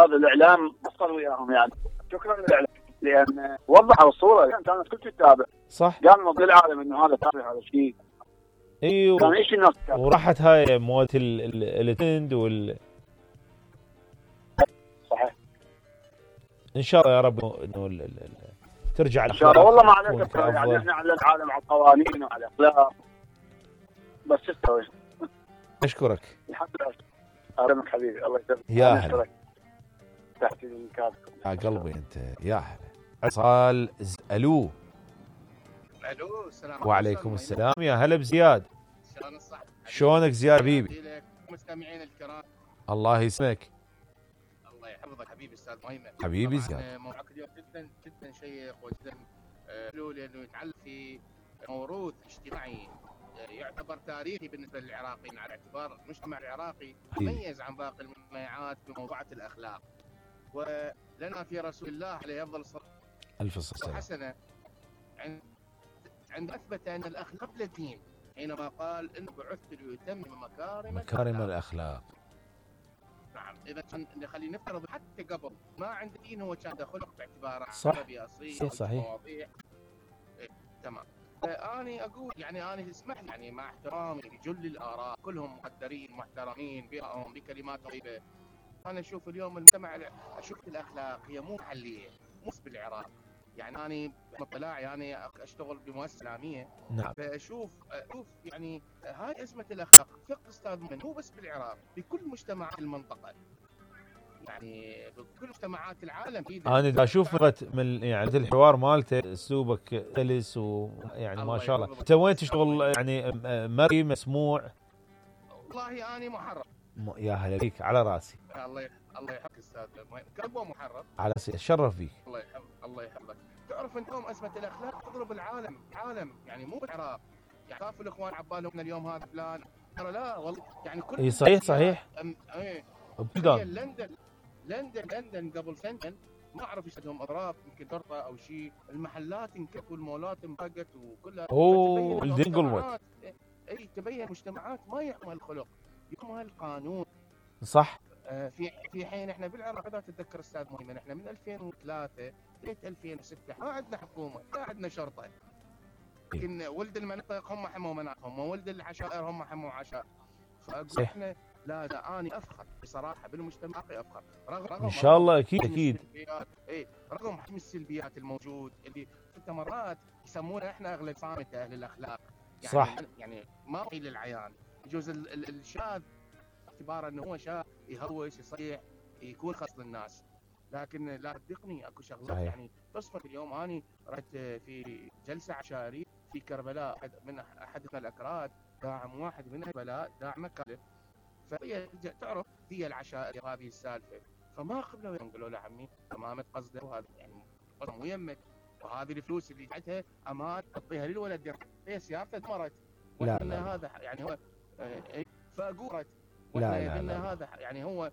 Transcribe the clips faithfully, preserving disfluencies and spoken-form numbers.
استاذ الاعلام قصر وياهم يعني. شكرا للاعلام لان وضحوا الصوره كانت كل تتابع. صح. قال نضل العالم انه هذا تابع هذا الشيء. ايوه. كان ايش الناس تتابع. وراحت هاي مواد التند وال صحيح. ان شاء الله يا رب انه ال... ال... ترجع ان شاء الله. والله ما عليك يعني احنا على العالم على القوانين وعلى الاخلاق بس تستوي. اشكرك. الحمد لله. اهلا حبيبي الله يسلمك. يا هلا. تحت الكافكم. يا قلبي انت يا هلا. اتصال الو. الو السلام وعليكم السلام يا هلا بزياد. شلون الصحة؟ شلونك زياد حبيبي؟ مستمعين الكرام الله يسلمك. الله يحفظك حبيبي استاذ مهيمن. حبيبي زياد. موضوعك اليوم جدا جدا شيق وجدا حلو لانه يتعلق في موروث اجتماعي يعتبر تاريخي بالنسبه للعراقيين على اعتبار المجتمع العراقي مميز عن باقي المجتمعات بموضوعة الاخلاق. ولنا في رسول الله عليه افضل الصلاه الف صلاه حسنه عند عند اثبت ان الاخلاق قبل الدين حينما قال انه بعثت ليتمم مكارم مكارم الاخلاق. نعم. اذا كان خلينا نفترض حتى قبل ما عند دين هو كان خلق باعتباره صح. عربي اصيل. صح صحيح. مواضيع إيه. تمام. انا اقول يعني انا اسمح لي يعني مع احترامي لجل الاراء كلهم مقدرين محترمين بهم بكلمات طيبه. انا اشوف اليوم المجتمع اشوف الاخلاق هي مو محليه مو بس بالعراق. يعني انا باطلاعي انا اشتغل بمؤسسه اسلاميه. نعم. فاشوف اشوف يعني هاي ازمه الاخلاق فقه استاذ مهيمن مو بس بالعراق بكل مجتمعات المنطقه. يعني بكل مجتمعات العالم. انا دا اشوف من يعني الحوار مالته اسلوبك سلس ويعني ما شاء الله. انت وين تشتغل يعني مرئي مسموع؟ والله اني محرر. م... يا هلا فيك على راسي. الله الله يحفظك استاذ كلبه محرر. على سي اتشرف فيك. الله يحفظك الله يحفظك. تعرف انت اليوم ازمه الاخلاق تضرب العالم العالم يعني مو بالعراق. يعني خافوا الاخوان عبالهم اليوم هذا فلان ترى لا والله يعني كل اي صحيح صحيح. أم... ايه بلدان لندن لندن لندن قبل سنتين ما اعرف ايش عندهم اضراب يمكن شرطه او شيء. المحلات انكبوا المولات انبقت وكلها. اوه الدنقلوت. اي تبين مجتمعات ما يحمل الخلق يحمل القانون. صح. آه في في حين احنا بالعراق اذا تتذكر استاذ مهيمن احنا من ألفين وثلاثة لغايه ألفين وستة ما عندنا حكومه ما عندنا شرطه. لكن ولد المناطق هم حموا مناطقهم وولد العشائر هم حموا عشائر. فاقول احنا لا لا اني افخر بصراحه بالمجتمع افخر رغم رغم ان شاء الله اكيد اكيد. اي رغم حجم السلبيات الموجود اللي حتى مرات يسمونا احنا اغلب صامته اهل الاخلاق. يعني صح. يعني ما هي للعيان يجوز الشاذ باعتباره انه هو شاذ يهوس يصيح يكون خاص للناس. لكن لا تصدقني اكو شغلات يعني تصفق. اليوم اني رحت في جلسه عشائريه في كربلاء من احدنا الاكراد داعم واحد من كربلاء داعم مكالف. فهي تعرف هي العشائر هذه السالفه فما قبلوا يقولوا له عمي امامك قصده وهذا يعني مو يمك وهذه الفلوس اللي جاتها امان تعطيها للولد هي سيارته دمرت. لا لا هذا يعني هو اي فاقول لا لا, لا هذا يعني هو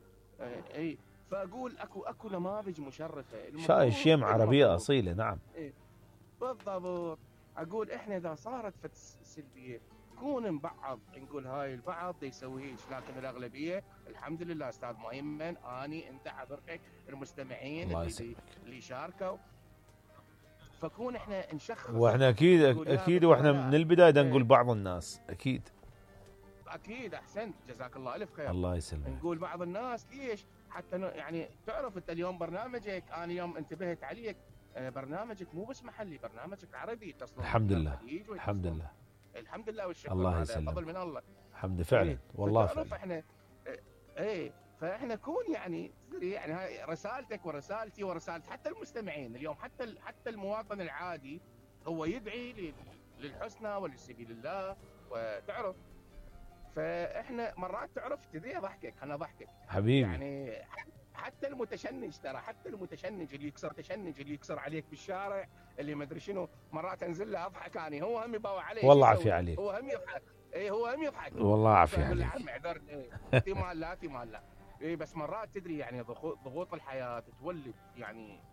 اي فاقول اكو اكو نماذج مشرفه. شاي شيم عربيه اصيله. نعم إيه بالضبط. اقول احنا اذا صارت فت سلبيه نكون مبعض نقول هاي البعض يسوي هيك لكن الاغلبيه الحمد لله استاذ مهيمن اني انت حضرتك المستمعين اللي اللي شاركوا فكون احنا نشخص. واحنا اكيد اكيد واحنا من البدايه نقول بعض الناس اكيد اكيد احسنت جزاك الله الف خير. الله يسلمك. نقول بعض الناس ليش حتى يعني تعرف انت اليوم برنامجك انا يوم انتبهت عليك برنامجك مو بس محلي برنامجك عربي تصل الحمد لله الحمد لله الحمد لله والشكر الله يسلمك فضل من الله الحمد فعلا إيه. والله فعلا. احنا ايه فاحنا كون يعني يعني هاي رسالتك ورسالتي ورسالة حتى المستمعين اليوم حتى حتى المواطن العادي هو يدعي للحسنى ولسبيل الله وتعرف. فاحنا مرات تعرف تدري اضحكك انا اضحكك حبيبي يعني حتى المتشنج ترى حتى المتشنج اللي يكسر تشنج اللي يكسر عليك بالشارع اللي ما ادري شنو مرات انزل له اضحك اني هو هم يباوع عليه والله عافيه عليك هو هم يضحك اي هو هم يضحك والله عافيه عليك عم عذرت احتمال لا احتمال لا اي بس مرات تدري يعني ضغوط الحياه تولد يعني